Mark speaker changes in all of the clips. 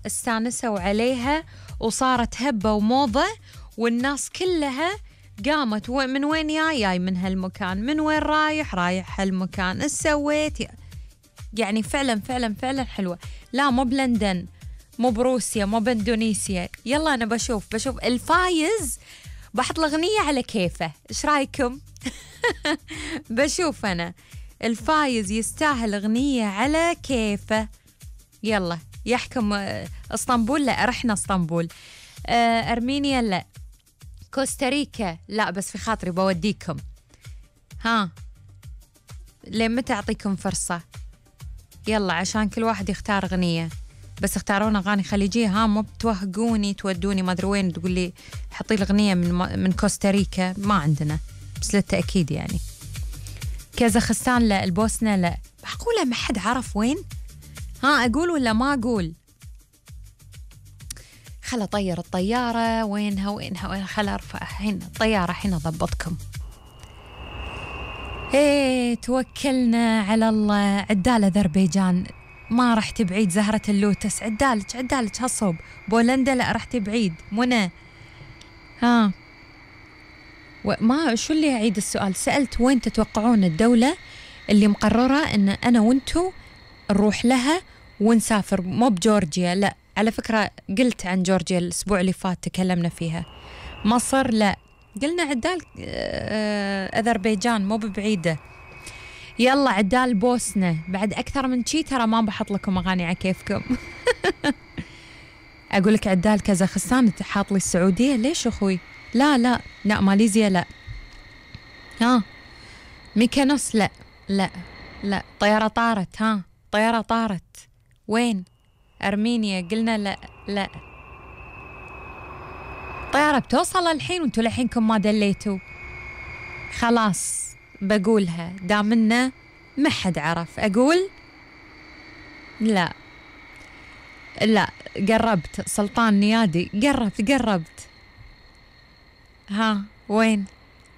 Speaker 1: استانسوا عليها وصارت هبة وموضة، والناس كلها قامت من وين جاي من هالمكان، من وين رايح هالمكان، ايش سويت؟ يعني فعلا فعلا فعلا حلوة. لا مو بلندن، مو بروسيا، مو باندونيسيا. يلا أنا بشوف الفايز بحط الأغنية على كيفه، إيش رأيكم؟ بشوف أنا الفايز يستاهل أغنية على كيفه. يلا يحكم. اسطنبول لا، رحنا اسطنبول. أرمينيا لا، كوستاريكا لا، بس في خاطري بوديكم. ها لين متى أعطيكم فرصة؟ يلا عشان كل واحد يختار أغنية، بس اختارون أغاني خليجية. ها مو بتوهقوني تودوني ما أدري وين تقول لي حطي الأغنية من كوستاريكا، ما عندنا، بس للتأكيد يعني. كازاخستان لا، البوسنة لا. معقولة ما حد عرف وين؟ ها أقول ولا ما أقول؟ خلا طير الطيارة، وينها خلا أرفع الحين الطيارة الحين أضبطكم. ايه توكلنا على الله. عدال أذربيجان ما رحت بعيد. زهرة اللوتس عدالك هالصوب. بولندا لا رحت بعيد. منى ها ما شو اللي أعيد السؤال؟ سألت وين تتوقعون الدولة اللي مقررة إن أنا وانتو نروح لها ونسافر؟ مو بجورجيا لا، على فكرة قلت عن جورجيا الأسبوع اللي فات تكلمنا فيها. مصر لا، قلنا عدال أذربيجان مو ببعيدة. يلا عدال بوسنة. بعد أكثر من شي ترى ما بحط لكم أغاني على كيفكم. أقول لك عدال كازاخستان حاط لي السعودية، ليش أخوي؟ لا ماليزيا لا. ها ميكانوس لا طيارة طارت. ها طيارة طارت وين؟ أرمينيا قلنا لا. طيارة بتوصل الحين وانتوا لحينكم ما دليتوا. خلاص بقولها دامنا ما حد عرف. أقول لا قربت. سلطان نيادي قربت. ها وين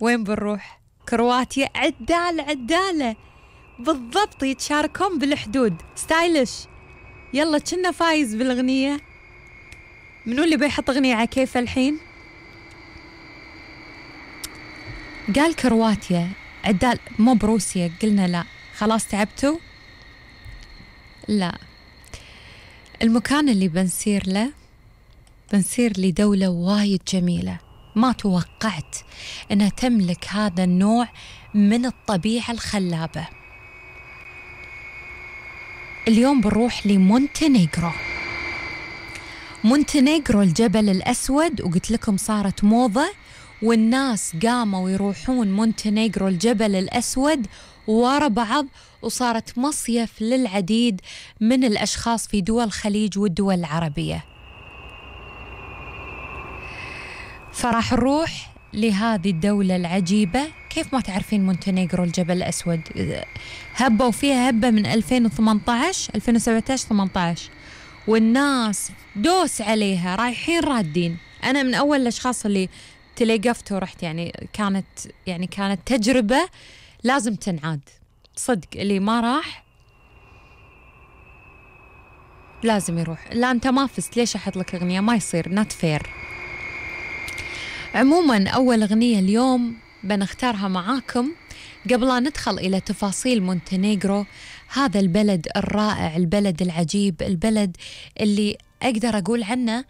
Speaker 1: بنروح؟ كرواتيا. عدالة بالضبط، يتشاركون بالحدود. ستايلش. يلا كنا فايز بالأغنية. منو اللي بيحط أغنية على كيف الحين؟ قال كرواتيا. عدال مو بروسيا، قلنا لا. خلاص تعبتوا؟ لا. المكان اللي بنسير لدولة وايد جميلة، ما توقعت أنها تملك هذا النوع من الطبيعة الخلابة. اليوم بنروح لمونتينيغرو. الجبل الأسود، وقلت لكم صارت موضة والناس قاموا يروحون مونتينيغرو الجبل الأسود ورا بعض، وصارت مصيف للعديد من الأشخاص في دول الخليج والدول العربية. فراح نروح لهذه الدولة العجيبة. كيف ما تعرفين مونتينيغرو الجبل الأسود؟ هبوا فيها هبة من 2018 2017 18، والناس دوس عليها رايحين رادين. أنا من أول الأشخاص اللي تلقفت ورحت، يعني كانت تجربة لازم تنعاد صدق. اللي ما راح لازم يروح. لا أنت ما فزت، ليش أحط لك أغنية؟ ما يصير، نات فير. عموما أول أغنية اليوم بنختارها معاكم قبل أن ندخل إلى تفاصيل مونتينيغرو، هذا البلد الرائع، البلد العجيب، البلد اللي أقدر أقول عنه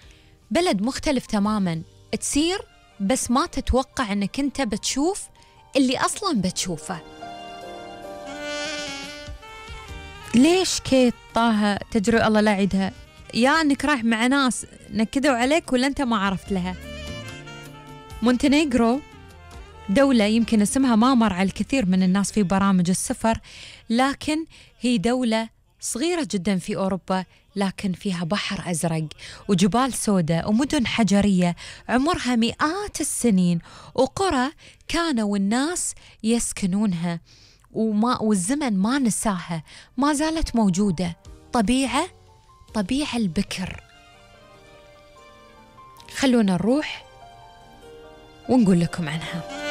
Speaker 1: بلد مختلف تماما. تسير بس ما تتوقع أنك أنت بتشوف اللي أصلا بتشوفه. ليش كيت طه تجري الله لا عيدها؟ يا أنك رايح مع ناس نكدوا عليك ولا أنت ما عرفت لها. مونتينيغرو دولة يمكن اسمها ما مر على الكثير من الناس في برامج السفر، لكن هي دولة صغيرة جدا في أوروبا، لكن فيها بحر أزرق وجبال سوداء ومدن حجرية عمرها مئات السنين، وقرى كانوا الناس يسكنونها والزمن ما نساها، ما زالت موجودة. طبيعة البكر. خلونا نروح ونقول لكم عنها.